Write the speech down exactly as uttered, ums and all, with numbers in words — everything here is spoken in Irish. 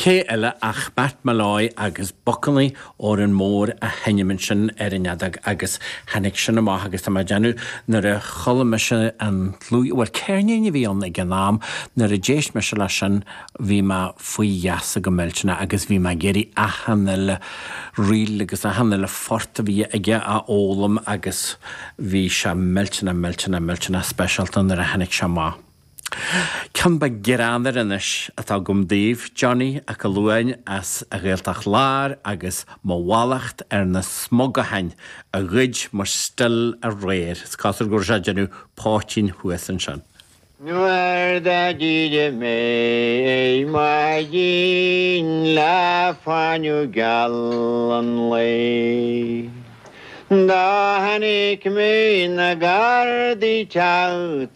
Cé eile ach Matt Molloy agus Buckannaí Órán Mór a sheinm ansin ar an fheadóg agus tháinig sin amach agus tá mé ag déanamh nuair a chuala mise an dlúth bhuel ceirnín a bhí ann ag an am nuair a d'éist mise leis sin bhí mé faoi gheasa go millteanach agus bhí mé ag iarraidh achan uile ríl agus achan uile phort a bhí aige a fhoghlaim agus bhí sé millteanach millteanach millteanach speisialta nuair a tháinig sé amach. Ceann beag greannmhar anois atá agam daoibh Johnny Mac Luain as a Ghaeltacht Láir agus mo mhallacht ar na smugachain a ghoid mo stil aréir. Is cosúil go raibh sé ag déanamh poitín thuas ansin. Nuair a d'éirigh mé maidin le fáinne geal an lae. Do chonaic mé na gardaí teacht